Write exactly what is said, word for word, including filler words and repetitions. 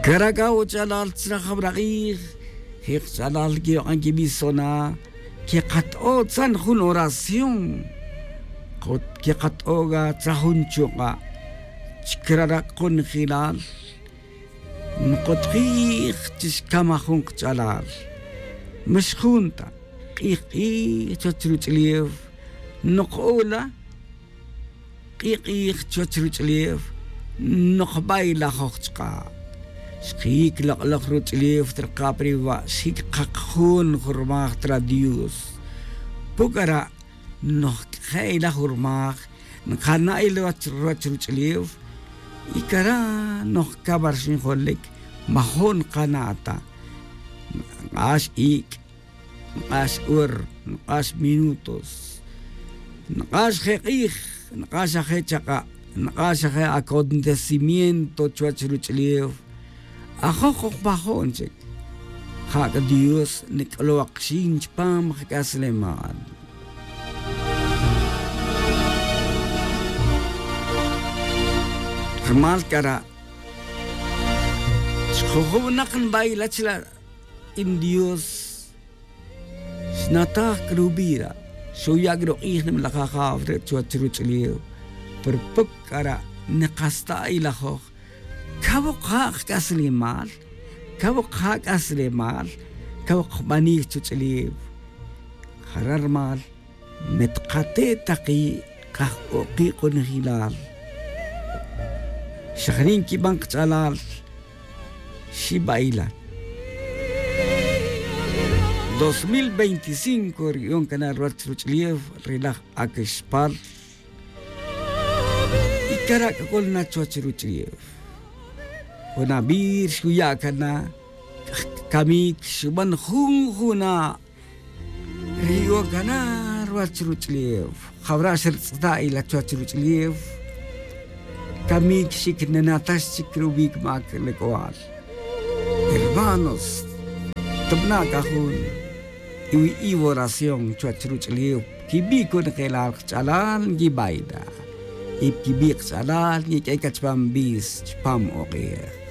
Cara' c'a uch'alal tzra jawra k'ij je' kch'alal quiyok'an quibisona quekat'o' tzan jun oración. Quekat'o' c'a tzra jun chuk'a' chcara' conjelal. Nkotkij chi xcamaj jun kch'alal. Ma xjun ta k'ij k'ij chuwech ruch'ulef. Nok'ola k'ij k'ij chuwech ruch'ulef. Nokbaylajoj chka'. Xkiyic lok'lok ruch'ulef traka' pa riwa' xic kak jun jurmaj tra dios. Pucara' nojc'ejey la jurmaj. Nkana' iloch ruwech ruch'ulef. Y cara' nojcawa rxin jolic. Majo' nkana' ta nk'ax ic', nk'ax hor, nk'ax minutos, nk'ax je' k'ij, nk'ax aje' chaka', nk'ax aje' acontecimiento chuwech ruch'ulef. Ajoj oj majo'n chic. Ja c'a dios nic'olow akxin chupam jac'aslemal. Rumal cara' chjujunak nbaila chila' in dios. Xnataj c'a rubira' xuya' c'a ruk'ij nimalaj ajaw re' chuwech ruch'ulef. Pero puc cara' nikasta' ilajoj. Cawo' ja' kac'aslemal. Cawo' ja' kac'aslemal. Cawo' kbanic chuch'ulef. Jara' rumal me tkate' taki' kajk'oki' conjelal. Xajni' nquiban kach'alal. Xibaila dos mil veinticinco riyon cana' ruwech ruch'ulef ri laj acxpal. Y cara' c'ac'ol na chuwech ruch'ulef. Jun abir xuya' cana' camic xuban jun juna'. Ri yu'on cana' ruwech ruch'ulef jawra' xertz'ita' ila chuwech ruch'ulef. Camic xic ninatax chic rubic mac lec'oal. Hermanos, tubana' c'a jun iwi' iworación chuwech ruch'ulef. Quibi' conojelal kach'alal nquibaida. Y quibi' kach'alal nquiq'ue' ca chupam bis chupam ok'ej.